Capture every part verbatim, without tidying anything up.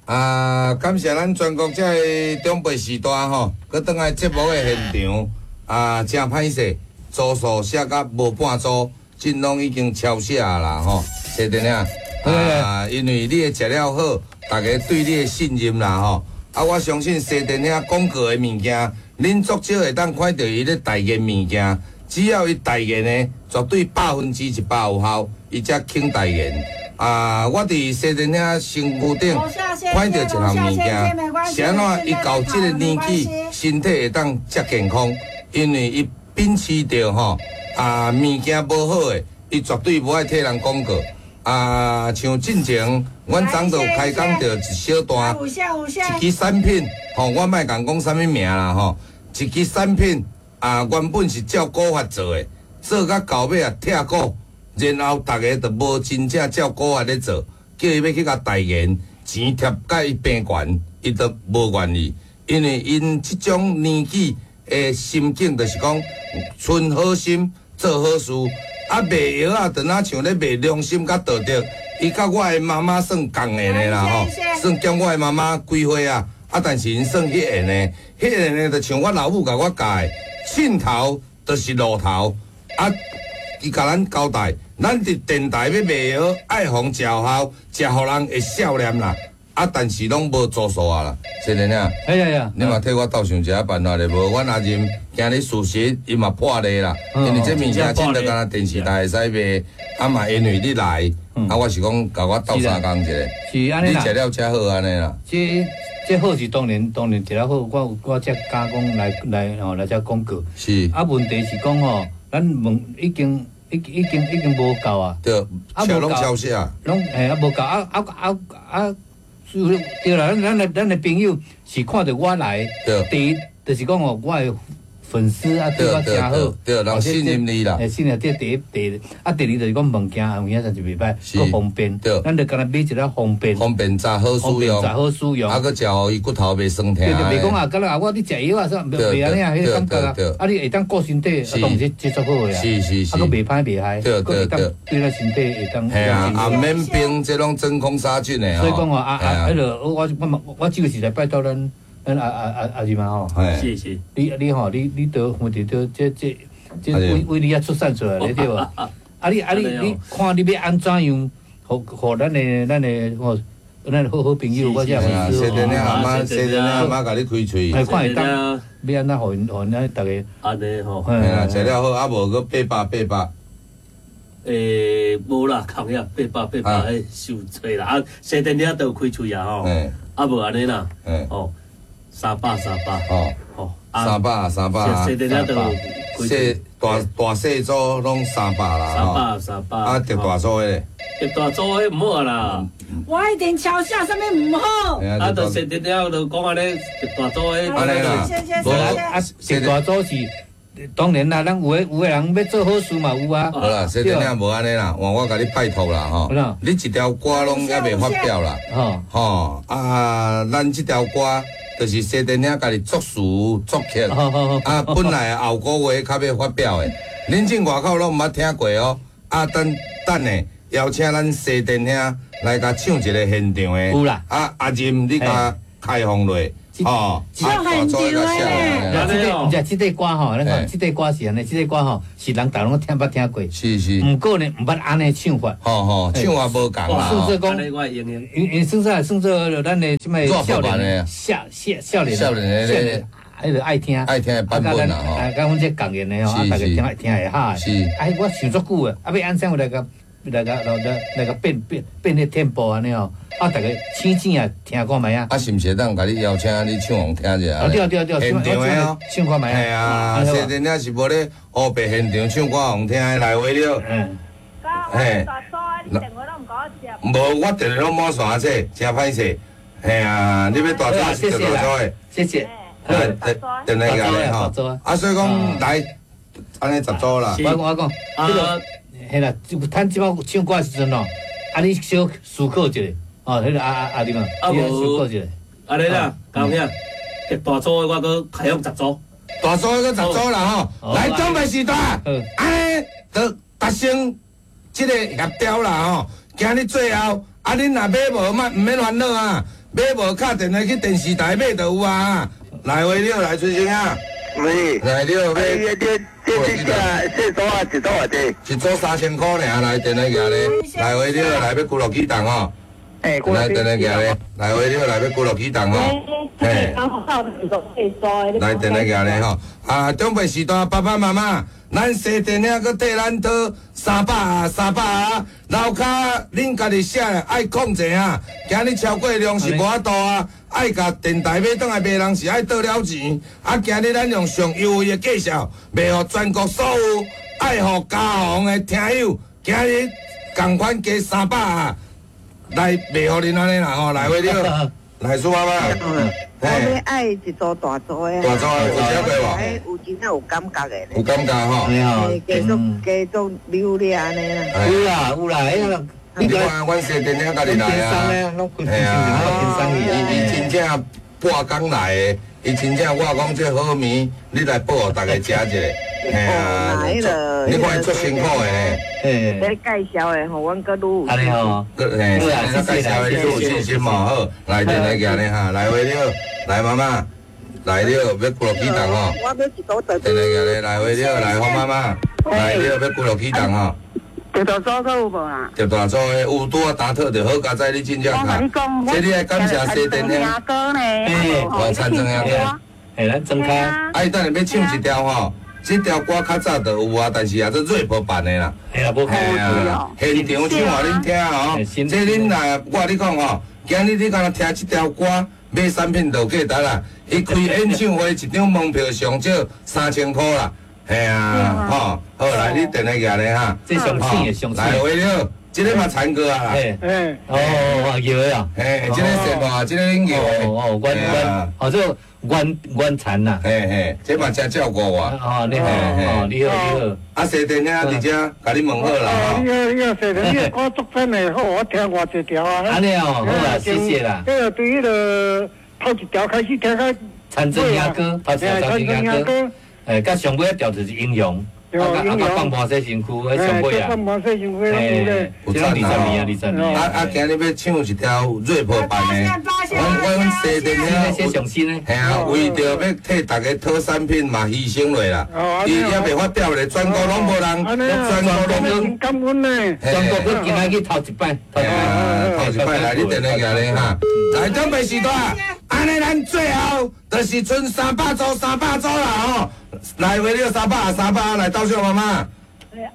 啊，感謝咱全國這个長輩時代吼，閣轉來節目的現場啊，誠歹勢，組數寫甲無半組，這攏已經超寫啦吼，謝電影啊，因為你的食了好，大家對你的信任啦吼，啊，我相信西電影廣告的物件，恁足少會當看著伊咧代言物件，只要伊代言的，絕對百分之一百有效，伊才肯代言。啊！我佇西電影身軀頂看著一項物件，是按怎伊到這個年紀，身體會當遮健康？因為伊秉持著吼啊，物件無好的，伊絕對無愛替人廣告。啊，像進前，阮昨就開講著一小段，一支產品，吼，我莫共講啥物名啦吼，一支產品啊，原本是照古法做的，做甲到尾啊拆股。然後逐家就無真正照古法咧做，叫伊欲去共代言，錢貼共伊平懸，伊都無願意，因為𪜶這種年紀的心境，就是講存好心做好事，啊賣藥仔，就若像咧賣良心佮道德，伊佮我的媽媽算仝的呢啦吼，算減我的媽媽幾歲啊，啊但是𪜶算彼個呢，彼個呢就像我老母共我教的，鏡頭就是路頭，啊。伊共咱交代，咱佇電台欲賣藥，愛予人食有效，食予人會少年啦。啊，但是攏無做數啊啦，是的呢。哎呀呀！你嘛替我鬥想一下辦法咧無？阮阿任今日事實伊嘛破例啦，因為這物件真就敢若電視台會使賣，啊嘛因為你來，啊我是講共我鬥相共一下。是按呢你食了才好按呢啦。這這好是當然當然食了好，我我才敢講來來吼來遮廣告。是。啊，問題是講吼，咱問已經。已已經已經無夠啊！對，啊無攏超寫啊，攏嘿啊無夠啊啊啊啊！對啦，咱咱的咱的朋友是看著我來，第一就是講哦，我的粉絲啊對我誠好，對，人信任你啦。欸，信任這第一，第二啊，第二就是講物件有影真是袂歹，閣方便。咱就干焦買一个方便。方便雜好使用，雜好使用。啊，閣食予伊骨頭袂酸疼。對對，袂講啊，敢若啊，我咧食藥啊，啥袂袂按呢啊，彼個感覺啊，啊，你會當顧身體，啊，當然這足好的啊。是是是。啊，閣袂歹袂害，對對對，對咱身體會當。嘿啊，啊免冰，這攏真空殺菌的。所以講吼，啊啊，彼個我我我這個是來拜託咱。咱阿阿阿阿姨嘛吼，是是，你你吼，你你都問題都這這這為為你遐出產出來咧對無？啊你啊你你看你欲按怎樣，予予咱的咱的吼，咱的好好朋友，我這粉絲。小電阿媽，小電阿媽共你開喙。看會當欲按怎予𪜶予𪜶逐家。按呢吼。嘿啊，食了好，啊無閣八百八百。欸，無啦，空遐八百八百，彼傷濟啦。啊，西電遐都有開喙啊吼。啊無按呢啦。吼。三百三百哦，哦，三百三百，細細都細大大細組攏三百啦，三百三百，啊，特大組的，特大組的毋好啦。我一定抄寫啥物毋好。啊，就細電了就講按呢，特大組的，按呢啦，無啊，特大組是當然啦，咱有的有的人欲做好事嘛有啊。好啦，細電了無按呢啦，換我共你拜託啦吼，你一條歌攏猶未發表啦，吼啊，咱這條歌。就是西電影家己作詞作曲，啊，本來後個月較欲發表的，恁進外口攏毋捌聽過哦。啊，等等下邀請咱西電兄來共唱一個現場的。有啦。啊，阿任你共開放落，哦，唱現場的。這個，毋是這塊歌吼，咱講這塊歌是按呢，這塊歌吼是人逐攏聽捌聽過。是是。毋過呢，毋捌按呢唱法。吼吼，唱法無仝啦。算做講，因因算做算做咱的這物少年，少少少年，少年的，彼個愛聽，愛聽的版本啦吼。啊，佮阮這仝言的吼，啊，逐家聽聽會哈。是。哎，我想足久的，啊，欲按怎來共來共來來共變變變彼 tempo 按呢吼，啊，逐家醒醒啊，聽看覓啊。啊，是毋是會當共你邀請你唱予聽一下？啊，對對對，現場的哦，唱看覓啊。嘿啊，西電影是無咧烏白現場唱歌予聽的來話了。嗯。嘿。無，我電話攏滿線這，誠歹勢。嘿啊，你欲大組是大組的。謝謝。來，電話過來吼。啊，所以講來，按呢十組啦。我講我講，這個嘿啦，趁這擺唱歌的時陣哦，啊，你小思考一下，哦，彼個阿阿阿你嘛，你思考一下。按呢啦，高兄，大組的我閣開放十組。大組閣十組啦吼，來準備時段，按呢就達成這個協調啦吼。今日最後，啊，恁若買無，莫毋免煩惱啊。買無敲電話去電視台買就有啊。來話了，來崔先啊。喂。來了，買。這這這這這組啊，一組偌濟？一組三千箍爾，來電話寄咧。來話了，來欲龜樂啟動吼。來電話寄咧，來話了，來欲龜樂啟動吼。嘿。來電話寄咧吼。啊，長輩時代爸爸媽媽，咱西電影閣替咱討三百啊，三百啊，樓跤恁家己寫的愛控制啊。今日超過量是無法度啊，愛共電台買轉來賣人是愛倒了錢。啊，今日咱用上優惠的介紹，賣予全國所有愛護家防的聽友，今日仝款加三百啊，來賣予恁按呢啦吼，來話了，來蘇媽媽。我欲愛一組大組的，大組的有食過無？有真正有感覺的。有感覺吼。繼續繼續留咧按呢啦。有啦有啦，哎呀，你看阮西電影家己來啊，嘿啊，伊伊真正半工來的，伊真正我講這好物，你來報予大家食一下。嘿啊，你看伊足辛苦的呢。你介紹的吼，阮閣愈有。按呢吼，嘿，你介紹的你有信心無？好，來電來寄咧哈，來話了，來媽媽，來了，欲龜樂啟動吼。我欲一組大。電來寄咧，來話了，來黃媽媽，來了，欲龜樂啟動吼。特大組閣有無啊？特大組的有拄仔打特就好，佳哉你真正卡。這你愛感謝西電影歌呢？嘿，我田庄兄哥。嘿，咱庄卡。啊，伊等下欲唱一條吼。這條歌較早就有啊，但是也做 rap 版的啦。嘿啊，無嘿啊，現場唱予恁聽吼。這恁若我佮你講吼，今日你敢若聽這條歌，買產品就有價值啦。伊開演唱會一張門票上少三千箍啦。嘿啊，吼，好來，你電話寄來哈。這上醒的上醒。來，話了，這个嘛田歌啊啦。嘿，哦，搖的啊。嘿，這个是嘛，這个恁搖的。哦，阮阮，哦，這阮阮田呐。嘿嘿，這嘛真照顧我。哦，你好，哦，你好，你好。啊，西電影佇遮，共你問好啦。你好，你好，西電，你的歌足讚的，好，我聽偌濟條啊。按呢哦，好啊，謝謝啦。彼個對彼個頭一條開始聽到。田庄兄哥，頭一條田庄兄哥。哎，佮上尾一條就是英雄。啊，啊，放半洗身軀，彼上尾啊。放半洗身軀，拢有咧。有赞啊！二十年啊，二十年。啊啊！今日欲唱一條 rap 版的，阮阮西電影上新的。嘿啊，為著欲替大家討產品嘛，犧牲落啦。伊也袂發表咧，全國攏無人，全國攏感恩呢。全國閣今仔去頭一擺，頭一擺來，你電話寄咧哈。來，準備時段，按呢咱最後就是賰三百組，三百組啦吼。來，話了三百三百，來倒數媽媽。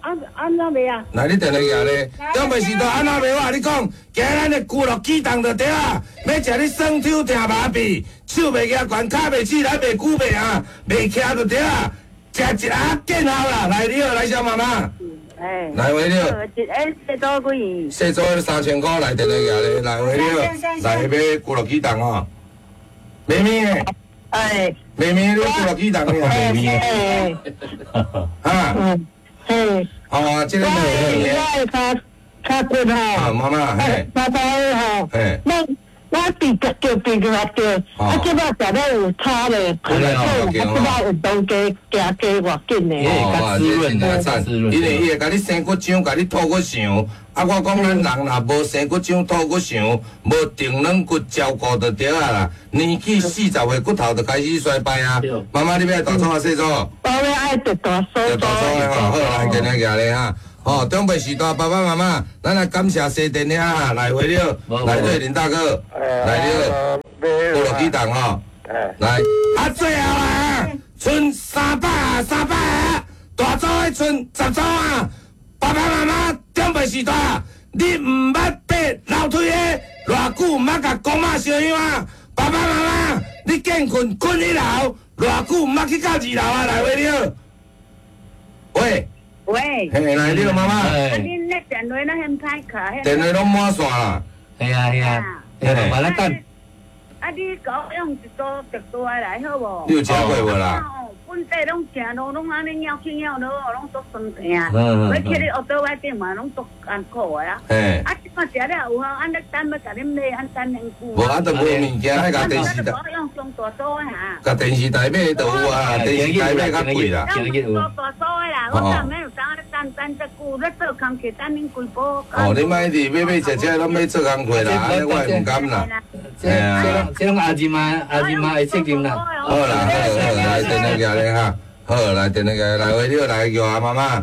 按按怎賣啊？來，你電話寄咧，長輩時代按怎賣？我共你講，今日咱的龜樂啟動就對啊。欲食你酸抽疼麻痹，手袂舉懸，跤袂起來，袂久袂啊，袂徛就對啊。食一盒見效啦！來，你好，來小媽媽。哎。來話了。一个細組幾？細組三千箍，來電話寄咧，來話了，來欲龜樂啟動吼。妹妹。哎。妹妹，你龜樂啟動的啊？妹妹。啊。嘿，哦，這个我我的跤跤骨吼，啊，媽媽，嘿，爸爸的吼，嘿，我我伫腳腳邊就對，啊，這擺食了有差咧，啊，這擺運動加行加偌緊的，哦，這真正讚，因為伊會共你生骨漿，共你吐骨想，啊，我講咱人若無生骨漿、吐骨想，無定軟骨照顧就對啊啦。年紀四十歲，骨頭就開始衰敗啊。媽媽，你欲愛大組抑細組？我欲愛大組。大組的吼，好來，今日寄咧哈。哦，長輩時代爸爸媽媽，咱來感謝西電影來回了，來對林大哥，來了，龜樂啟動吼，來，啊最後啊，賰三百啊，三百啊，大組的賰十組啊，爸爸媽媽長輩時代，你毋捌爬樓梯的，偌久毋捌共公媽相擁啊，爸爸媽媽，你見睏睏一樓，偌久毋捌去到二樓啊，來回了，喂。喂，嘿，來，你好，媽媽。啊，恁那電話那很歹卡。電話攏滿線啦。係啊係啊，嘿，慢慢等。啊，你共我用一組特大的來好無？你有食過無啦？本地攏行路攏按呢拗去拗落，攏足酸疼。欲去咧烏倒位頂嘛，攏足艱苦的啊。嘿。啊，這擺食了有效，按呢等欲共恁買，按等很久。無啊，都無物件，愛共電視台。用上大組的哈。共電視台買就有啊，電視台買較貴啦。用大組的啦，我昨暝有當咧等等遮久，咧做工課等恁規晡。哦，你莫一直買買食食，攏欲做工課啦，按呢我會毋甘啦。這這這攏阿姨媽阿姨媽的責任啦。好啦，好好，來電話寄咧哈，好來電話寄來，喂，你好，來叫阿媽媽。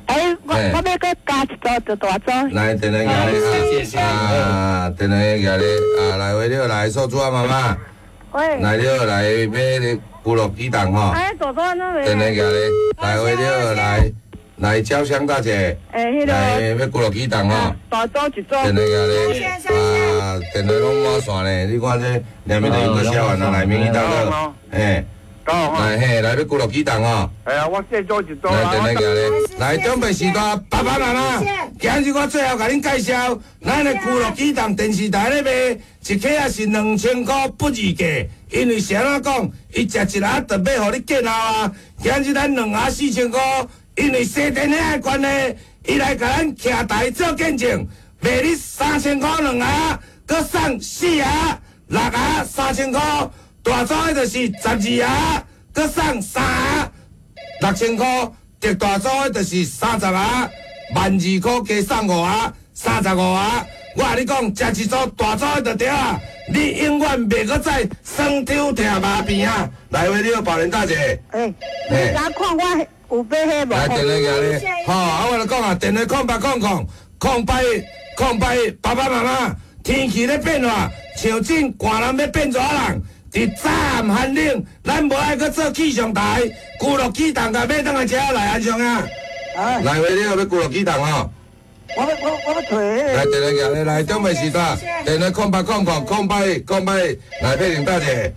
欸，我我欲閣加一組就大組。來電話寄咧哈，啊，電話寄咧，啊，來喂，你好，來素珠阿媽媽。喂。來你好，來欲牛肉雞蛋吼。哎，大組安怎電話寄咧，來喂，你好，來。來，焦香大姐，來欲牛肉雞蛋吼，大組一組。電話寄咧，啊，電話攏滿線咧，你看這兩邊都又閣寫完啦，來，明義大哥，嘿，來嘿，來欲牛肉雞蛋吼。哎呀，我這組一組。來，電話寄咧，來，長輩時代，爸爸媽媽，今日我最後共恁介紹，咱的牛肉雞蛋電視台咧賣，一克仔是兩千箍不二價，因為是按怎講，伊食一盒就欲予你見效啊。今日咱兩盒四千箍。因為西電遐的關係，伊來共咱徛台做見證，賣你三千箍兩盒，閣送四盒、六盒三千箍，大組的就是十二盒，閣送三盒六千箍，特大組的就是三十盒，萬二箍加送五盒，三十五盒。我共你講，食一組大組的就對啊，你永遠袂閣再酸抽疼麻病啊！來，喂，你好，寶蓮大姐。欸，你敢看我？有買彼無？來電話寄咧，吼！啊，我就講啊，電話空八空空空八一空八一，爸爸媽媽，天氣咧變化，像這寒人欲變熱人，佇早暗寒冷，咱無愛閣做氣象台，牛肉雞蛋共買轉來食來安上啊！來，喂，你好，欲牛肉雞蛋吼？我欲我我欲揣。來電話寄咧，來長輩時代，電話空八空空空八一空八一，來佩玲大姐。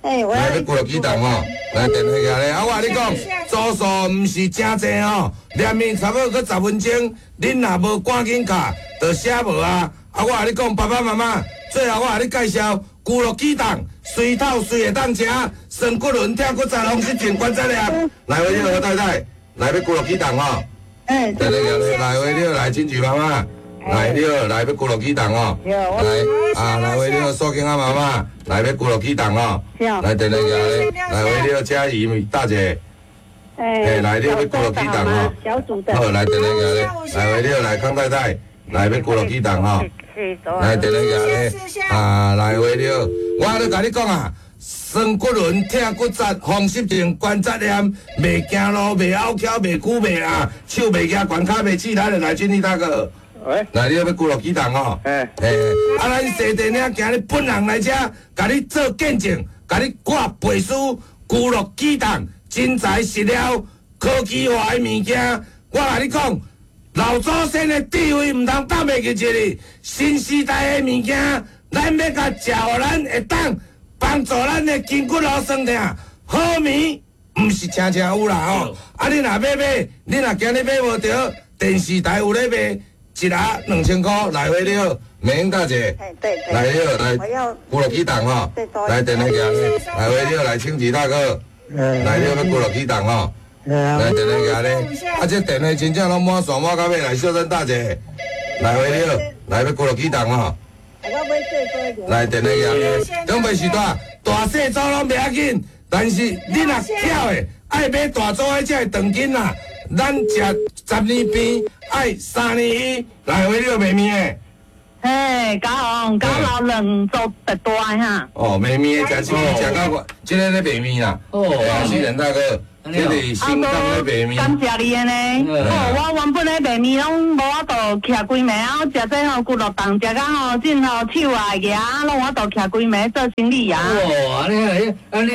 欸，來欲牛肉雞蛋吼，來電話寄咧。啊，我共你講，組數毋是誠濟吼，連面差不多閣十分鐘，恁若無趕緊卡，就寫無啊。啊，我共你講，爸爸媽媽，最後我共你介紹牛肉雞蛋，隨透隨會當食，酸骨輪、疼骨節、風濕症、關節炎。來，喂，你好，何太太，來欲牛肉雞蛋吼。欸，電話寄咧，來喂，你好，來金菊媽媽。來，你好，來欲牛肉雞蛋哦。來啊，來喂，你好，素卿阿媽媽，來欲牛肉雞蛋哦。來電話寄咧，來喂，你好，嘉怡大姐。欸，來，你好，欲牛肉雞蛋哦。好，來電話寄咧，來喂，你好，來康太太，來欲牛肉雞蛋哦。來電話寄咧，啊，來喂，你好，我咧共你講啊，酸骨輪、疼骨節、風濕症、關節炎，袂行路、袂拗撬、袂久袂啊，手袂舉，懸跤袂起來的，來，俊逸大哥。喂，來，你欲牛肉雞蛋吼？欸，欸，啊，咱西電領今日本人來遮，共你做見證，共你掛背書，牛肉雞蛋真材實料，科技化的物件。我共你講，老祖先的智慧毋通放袂記一日。新時代的物件，咱欲共食，予咱會當幫助咱的筋骨路酸痛。好物毋是誠誠有啦吼。啊，你若欲買，你若今日買無著，電視台有咧賣。一盒兩千箍，來回你好，美英大姐，來你好，來牛肉雞蛋吼，來電話寄咧，來回你好，來清吉大哥，來你好，欲牛肉雞蛋吼，來電話寄咧，啊這電話真正攏滿線滿到尾，來秀珍大姐，來回你好，來欲牛肉雞蛋吼，來電話寄咧，長輩時代大細組攏袂要緊，但是你若巧的愛買大組的才會長緊啦。咱食十年病，愛三年醫，來回你有賣麵的？嘿，九紅九老兩組特大哈。哦，賣麵的食這個食到我，這个咧賣麵啦。哦，世仁大哥，這是新港咧賣麵。感謝你的呢。哦，我原本咧賣麵攏無法度徛規暝啊，我食這吼骨肉丼，食到吼真吼手啊額攏有法度徛規暝做生理啊。哦，按呢，按呢，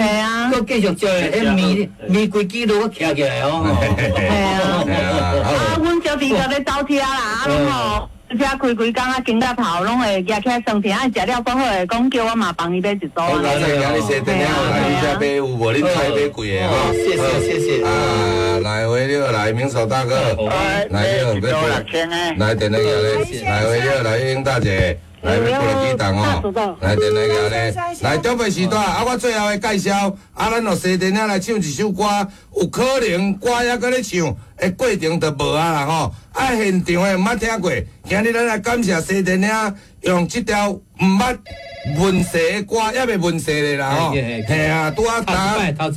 閣繼續食，彼麵麵規支都徛起來哦。嘿啊。啊，阮小弟閣咧走車啦，啊攏吼。車開規工啊，肩胛頭攏會壓起來酸疼，啊，食了閣好會講叫我嘛幫伊買一組。我剛才今日西電了來你遮買有無？恁菜買貴的吼。謝謝謝謝。啊，來回了來，明手大哥，來了，來電話來，來回了來，英大姐。來，欲牛肉雞蛋哦！來，電話來，來，長輩時代啊！我最後的介紹，啊，咱落西電來唱一首歌，有可能歌猶閣咧唱，的過程就無啊啦吼！啊，現場的毋捌聽過，今日咱來感謝西電領用這條毋捌問世的歌，猶未問世咧啦吼！嘿啊，拄仔打，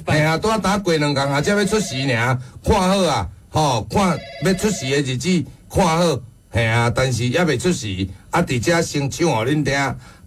嘿啊，拄仔打過兩工啊，才欲出席爾，看好啊，吼，看欲出席的日子看好，嘿啊，但是猶未出席。啊，啊，佇遮先唱予恁聽，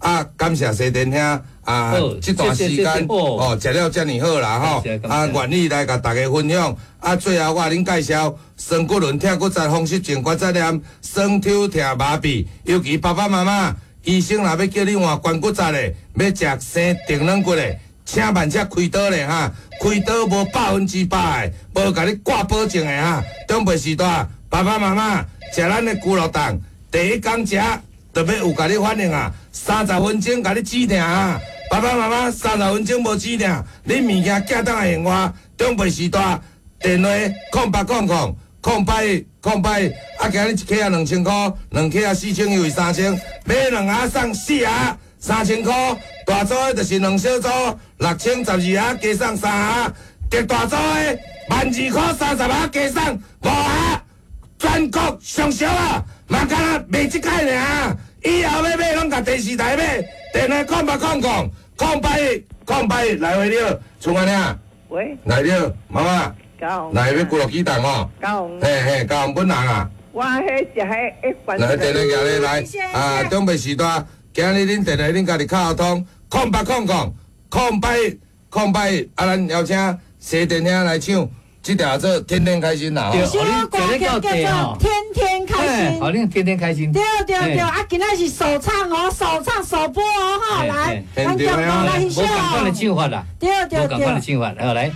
啊，感謝西電兄啊，這段時間哦，食了遮爾好啦吼，啊，願意來共大家分享。啊，最後我予恁介紹，雙骨輪疼骨折、風濕性關節炎、酸抽疼麻痹，尤其爸爸媽媽，醫生若欲叫你換關骨折的，欲食生定軟骨的，請慢才開刀咧哈，開刀無百分之百的，無共你掛保證的哈。長輩時代，爸爸媽媽食咱的龜鹿凍，第一工食就欲有共你反應啊，三十分鐘共你止疼啊。爸爸媽媽三十分鐘無止疼，你物件寄轉來還我。長輩時代，電話空八空空空八一空八一，啊，今日一克仔兩千箍，兩克仔四千又是三千，買兩盒送四盒。三千箍，大組的就是兩小組，六千十二盒加送三盒，特大組的萬二箍三十盒加送五盒，全國上俗啊！嘛敢若賣這擺爾，以後欲買攏共電視台買，電話空八空空空八一空八一來回了，厝安尼喂，來了，媽媽，來欲龜鹿肌凍吼，嘿嘿，高雄本人啊，我彼食彼一罐，來電話寄來，啊，長輩時代。今日恁電話恁家己敲通，空八空空空八一空八一，啊，咱邀請西電兄來唱這條做天天開心啦！這首歌曲叫做《天天開心》，好，恁天天開心。對對對，啊，今仔是首唱哦，首唱首播哦，哈，來，咱共同來欣賞。無仝款的唱法啦，對對對，無仝款的唱法，好來。